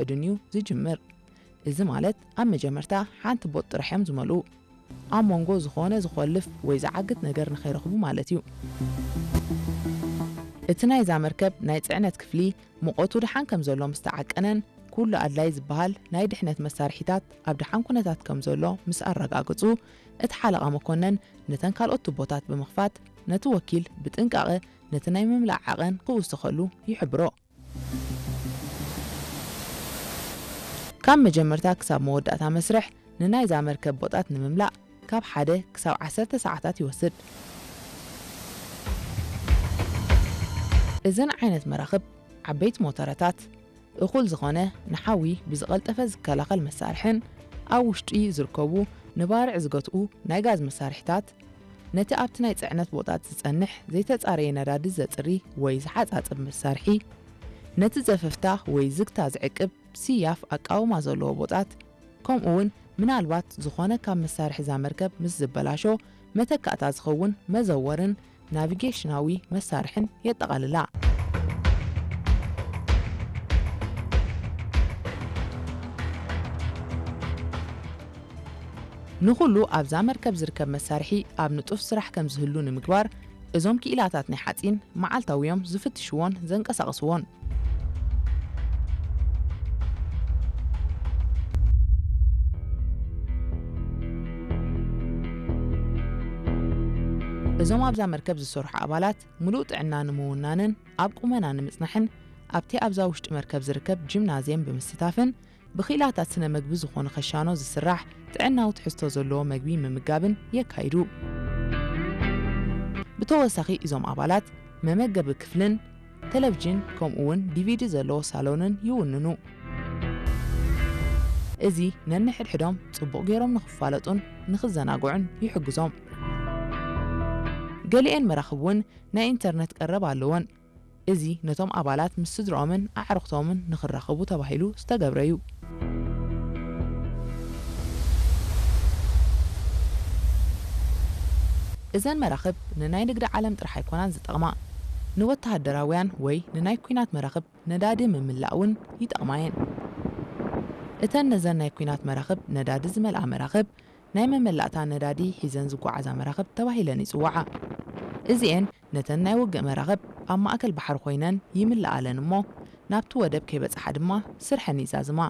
ምፍቃድን እዩ ዝጅምር። እዚ ማለት ኣብ መጀመርታ ሓንቲ ቦጥ ጥራሕ እዮም ዝመልኡ። ኣብ መንጎ ዝኾነ ዝኾልፍ ወይ ዝዓግት ነገር ንኸይረኽቡ ማለት እዩ። እቲ ናይዛ መርከብ ናይ ጽዕነት ክፍሊ ሙቐቱ ደሓን ከም ዘሎ ምስ ተዓቀነን፣ ኩሉ ኣድላይ ዝበሃል ናይ ድሕነት መሳርሒታት ኣብ ደሓን ኩነታት ከም ዘሎ ምስ ኣረጋገጹ፣ እቲ ሓለቓ መኮነን ነተን ካልኦት ቱቦታት ብምኽፋት፣ ነቲ ወኪል ብጥንቃቐ ነቲ ናይ ምምላእ ዓቐን ክውስኸሉ ይሕብሮ። ካብ መጀመርታ ክሳብ መወዳእታ መስርሕ ንናይዛ መርከብ ቦጣት ንምምላእ ካብ ሓደ ክሳብ ዓሰርተ ሰዓታት ይወስድ። እዘን ዓይነት መራኽብ ዓበይቲ ሞተረታት፣ እኹል ዝኾነ ንሓዊ ብዝቐልጠፈ ዝከላኸል መሳርሕን ኣብ ውሽጢ ዝርከቡ ንባርዕ ዝገትኡ ናይ ጋዝ መሳርሒታት፣ ነቲ ኣብቲ ናይ ጽዕነት ቦጣት ዝጸንሕ ዘይተጻረየ ነዳዲ ዘጽሪ ወይ ዝሓጻጽብ መሳርሒ፣ ነቲ ዘፈፍታ ወይ ዝግታ ዝዕቅብ ስያፍ ኣቃውማ ዘለዎ ቦጣት፣ ከምኡ እውን ምናልባት ዝኾነ ካብ መሳርሒ እዛ መርከብ ምስ ዝበላሾ መተካእታ ዝኸውን መዘወርን ናቪጌሽናዊ መሳርሕን የጠቓልላ። ንኹሉ ኣብዛ መርከብ ዝርከብ መሳርሒ ኣብ ንጡፍ ስራሕ ከም ዝህሉ ንምግባር፣ እዞም ክኢላታት ናይ ሓጺን መዓልታዊ እዮም ዝፍትሽዎን ዘንቀሳቕስዎን። እዞም ኣብዛ መርከብ ዝሰርሑ ኣባላት ምሉእ ጥዕና ንምውናንን ኣብ ቁመና ንምጽናሕን ኣብቲ ኣብዛ ውሽጢ መርከብ ዝርከብ ጂምናዝየም ብምስታፍን ብኽኢላታት ስነ መግቢ ዝኾኑ ከሻኖ ዝስራሕ ጥዕናዊ ትሕዝቶ ዘለዎ መግቢ ምምጋብን የካይዱ። ብተወሳኺ እዞም ኣባላት መመገቢ ክፍልን ቴሌቪዥን ከምኡ እውን ዲቪዲ ዘለዎ ሳሎንን ይውንኑ። እዚ ነንሕድሕዶም ጽቡቕ ገይሮም ንኽፋለጡን ንኽዘናግዑን ይሕግዞም። ገሊኤን መራኽብ እውን ናይ ኢንተርነት ቀረብ ኣለወን። እዚ ነቶም ኣባላት ምስ ስድርኦምን ኣዕሩኽቶምን ንኽራኸቡ ተባሂሉ ዝተገብረ እዩ። እዘን መራኽብ ንናይ ንግዲ ዓለም ጥራሕ ኣይኮናን ዝጠቕማ። ንወተሃደራውያን ወይ ንናይ ኲናት መራኽብ ነዳዲ ምምላእ እውን ይጠቕማ እየን። እተን ነዘን ናይ ኲናት መራኽብ ነዳዲ ዝመልኣ መራኽብ ናይ መመላእታ ነዳዲ ሒዘን ዝጓዓዛ መራኽብ ተባሂለን ይጽውዓ። እዚኤን ነተን ናይ ውግእ መራኽብ ኣብ ማእከል ባሕሪ ኮይነን ይምልኣለን እሞ፣ ናብቲ ወደብ ከይበጽሓ ድማ ስርሐን ይዛዝማ።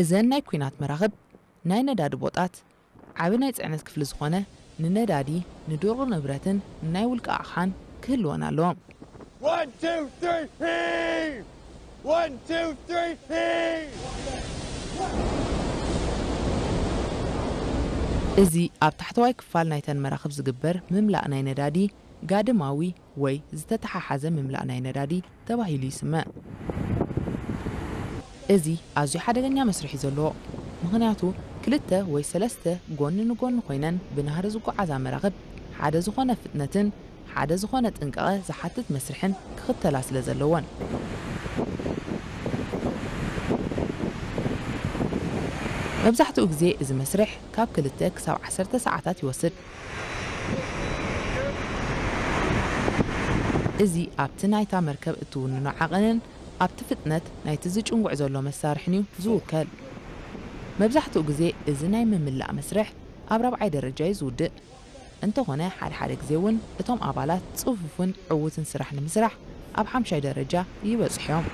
እዘን ናይ ኲናት መራኽብ ናይ ነዳዲ ቦጣት ዓቢ ናይ ጽዕነት ክፍሊ ዝኾነ ንነዳዲ፣ ንድሩቕ ንብረትን ንናይ ውልቂ ኣቕሓን ክህልወን ኣለዎ። One, two, three, heave! One, two, three, heave! እዚ ኣብ ታሕተዋይ ክፋል ናይተን መራኽብ ዝግበር ምምላእ ናይ ነዳዲ ጋድማዊ ወይ ዝተተሓሓዘ ምምላእ ናይ ነዳዲ ተባሂሉ ይስመ። እዚ ኣዝዩ ሓደገኛ መስርሕ እዩ ዘለዎ፣ ምኽንያቱ ክልተ ወይ ሰለስተ ጎኒ ንጎኒ ኮይነን ብናህሪ ዝጓዓዛ መራኽብ ሓደ ዝኾነ ፍጥነትን ሓደ ዝኾነ ጥንቃቐ ዝሓትት መስርሕን ክኽተላ ስለ ዘለወን። መብዛሕትኡ ግዜ እዚ መስርሕ ካብ ክልተ ክሳብ ዓሰርተ ሰዓታት ይወስድ። እዚ ኣብቲ ናይታ መርከብ እትውንኖ ዓቐንን ኣብቲ ፍጥነት ናይቲ ዝጭንጉዕ ዘሎ መሳርሕን እዩ ዝውከል። መብዛሕትኡ ግዜ እዚ ናይ ምምላእ መስርሕ ኣብ ራብዓይ ደረጃ እዩ ዝውድእ። እንተኾነ፣ ሓደ ሓደ ግዜ እውን እቶም ኣባላት ጽፉፍን ዕዉትን ስራሕ ንምስራሕ ኣብ ሓምሻይ ደረጃ ይበጽሑ እዮም።